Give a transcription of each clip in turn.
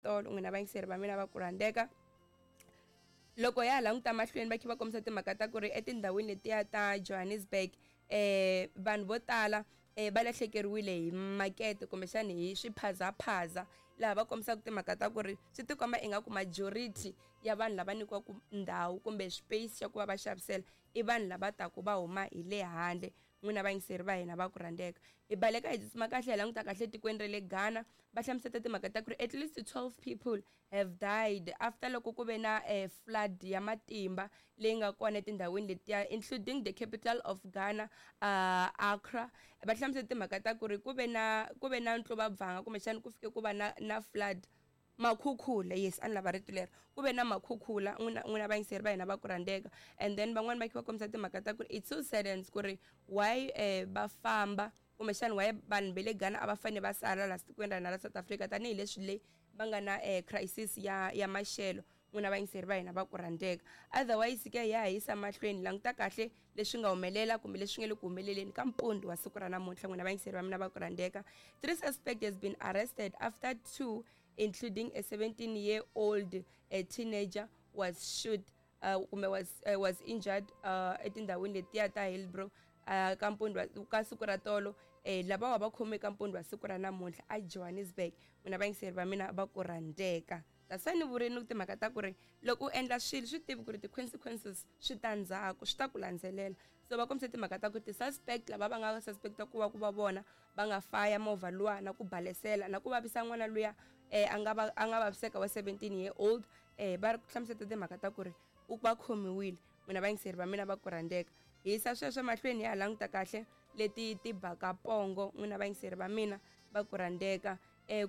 Tolo n'wina vayingiseri va mina va ku rhandzeka loko ya ha languta mahlweni va kha va kombisa timhaka ta ku ri etindhawini letiya ta Johannesburg vanhu vo tala va lahlekeriwile hi makete kumbexani hi swiphazaphaza laha va kombisaka timhaka ta ku ri swi tikomba ingaku majority ya vanhu lava nyikiwaka ndhawu kumbe space xa ku va va xavisela i vanhu lava taku va huma hi le handle. N'wina vayingiseri va hina va ku rhandzeka hi baleka hi tsutsuma kahle hi languta kahle etikweni ra le Ghana va hlamuseta timhaka ta ku ri at least 12 people have died after loko ku ve na flood ya matimba leyi nga kona etindhawini letiya including the capital of Ghana, Accra. Va hlamuseta timhaka ta ku ri ku ve na ku ve na ntluvabvanga kumbexana ku fike ku va na na flood Makhukhula, yes a ni lava rito lero. Ku ve na makhukhula n'wina n'wina vayingiseri va hina va ku rhandzeka and then van'wani va kha va kombisa timhaka ta ku ri it's so saddens ku ri why va famba kumbexana why vanhu va le Ghana a va fanele va sala laha tikweni ra hina ra South Africa tanihileswi le va nga na crisis ya ya maxelo n'wina vayingiseri va hina va ku rhandzeka. Otherwise ke ya ha yisa mahlweni languta kahle leswi nga humelela kumbe leswi nga le ku humeleleni ka mpundzu wa siku ra namuntlha n'wina vayingiseri va mina va ku rhandzeka. Three suspect has been arrested after two including a 17 year old a teenager was shoot kumbe was injured etindhawini letiya ta Hillbrow ka mpundzu ka siku ra tolo lavawa va khome ka mpundzu wa siku ra namuntlha a Johannesburg n'wina vayingiseri va mina va ku rhandzeka. That's why ni vurini timhaka ta ku ri loko u endla swilo swi tivi ku ri ti-consequences swi ta ndzhaku swi ta ku landzelela. So va kombise timhaka ta ku ti-suspect lava va nga suspect-a ku va ku va vona va nga faya movha luwa na ku balesela na ku vavisa n'wana luya a nga va a nga vaviseka wa 17 year old va ri hlamuseta timhaka ta ku ri u va khomiwile. N'wina vayingiseri va mina va ku rhandzeka hi yisa sweswo mahlweni ya ha languta kahle leti ti baka pongo n'wina vayingiseri va mina va ku rhandzeka.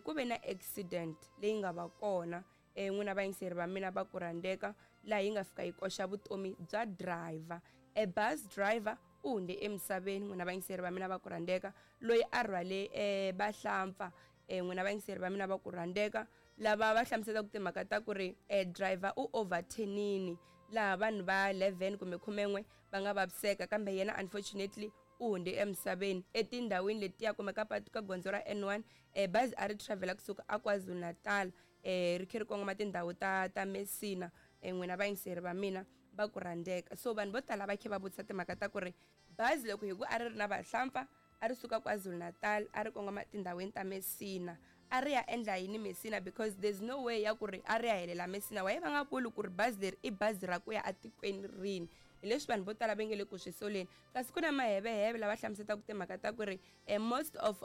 Ku ve na accident leyi nga va kona n'wina vayingiseri va mina va ku rhandzeka laha yi nga fika yi koxa vutomi bya driver. A bus driver u hundze emisaveni n'wina vayingiseri va mina va ku rhandzeka loyi a rhwale vahlampfa n'wina vayingiseri va mina va ku rhandzeka lava va hlamuselaka timhaka ta ku ri driver u overturn-ini laha vanhu va 11 kumbe 11 va nga vaviseka kambe yena unfortunately u hundze emisaveni etindhawini letiya kumbe ka patu ka gondzo ra N1 bazi a ri travel kusuka a KwaZulu-Natal ri kha ri kongoma tindhawu ta ta Messina n'wina vayingiseri va mina va ku rhandzeka. So vanhu vo tala va kha va vutisa timhaka ta ku ri bazi loko hi ku a ri ri na vahlampfa a ri suka KwaZulu-Natal a ri kongoma tindhawini ta Messina a ri ya endla yini Messina because there's no way ya ku ri a ri ya helela Messina why va nga vuli ku ri bazi leri i bazi ra ku ya atikweni rini hi leswi vanhu vo tala va nge le ku swi soleni kasi ku na maheveheve lava hlamuselaka timhaka ta ku ri most of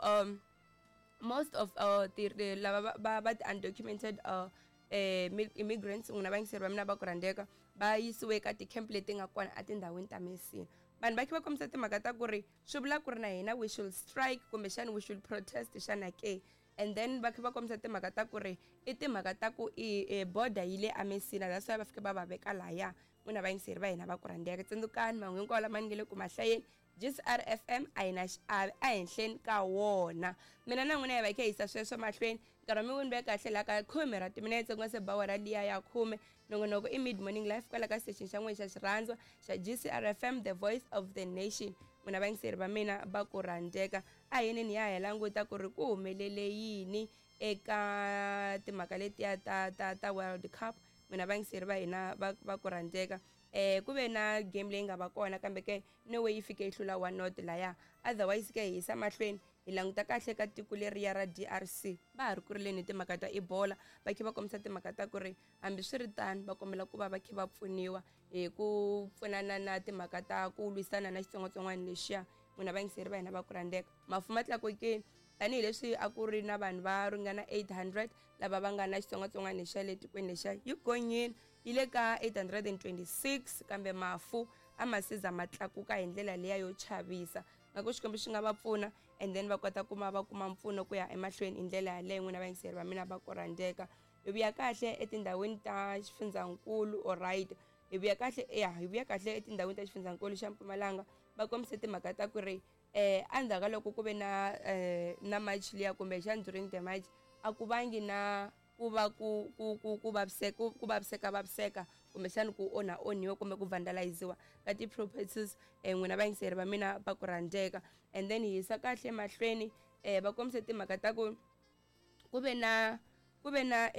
most of ti lava va va ti-undocumented immigrants n'wina vayingiseri va mina va ku rhandzeka va yisiwe ka ti-camp leti nga kona etindhawini ta Messina vanhu va kha va kombisa timhaka ta ku ri swi vula ku ri na hina we should strike kumbexana we should protest xana ke and then va kha va kombisa timhaka ta ku ri i timhaka ta ku i border yi le aMessina that's why va fike va va veka laya n'wina vayingiseri va hina va ku rhandzeka tsundzukani mahungu hinkwawo lama ni nge le ku ma hlayeni GCR FM a yi na xiave ehenhleni ka wona mina na n'wina hi va hi kha hi yisa sweswo mahlweni nkarhi wa mi wini ve kahle laha ka khume ra timinetse ku nga se ba wara liya ya khume nongonoko i mid morning life kwala ka xitexini xa n'wina xa xirhandzwa xa GCR FM the voice of the nation n'wina vayingiseri va mina va ku rhandzeka a hi yinini ya ha languta ku ri ku humelele yini eka timhaka letiya ta ta ta World Cup n'wina vayingiseri va hina va va ku rhandzeka ku ve na game leyi nga va kona kambe ke Norway yi fike yi hlula 1-0 laya otherwise ke hi yisa mahlweni hi languta kahle ka tiko leriya ra DRC va ha ri ku rileni hi timhaka ta Ebola va kha va kombisa timhaka ta ku ri hambiswiritano va kombela ku va va kha va pfuniwa hi ku pfunana na timhaka ta ku lwisana na xitsongwatsongwana lexiya n'wina vayingiseri va hina va ku rhandzeka mafu ma tlakukile tanihileswi a ku ri na vanhu va ringana 800 lava va nga na xitsongwatsongwana lexiya le tikweni lexiya yi gonyile yi le ka 826 kambe mafu a ma se za ma tlakuka hi ndlela liya yo chavisa nga ku Xikwembu xi nga va pfuna and then va kota kuma va kuma mpfuno ku ya emahlweni hi ndlela yaleyo n'wina vayingiseri va mina va ku rhandzeka hi vuya kahle etindhawini ta xifundzankulu alright hi vuya kahle ya hi vuya kahle etindhawini ta xifundzankulu xa Mpumalanga va kombise timhaka ta ku ri endzhaku ka loko ku ve na na march liya kumbexana during the march a ku vangi na ku va ku ku ku ku vaviseka ku vaviseka vaviseka kumbexana ku onha onhiwa kumbe ku vandaliziwa ka ti-properties n'wina vayingiseri va mina va ku rhandzeka and then hi yisa kahle mahlweni va kombise timhaka ta ku ku ve na Ku ve na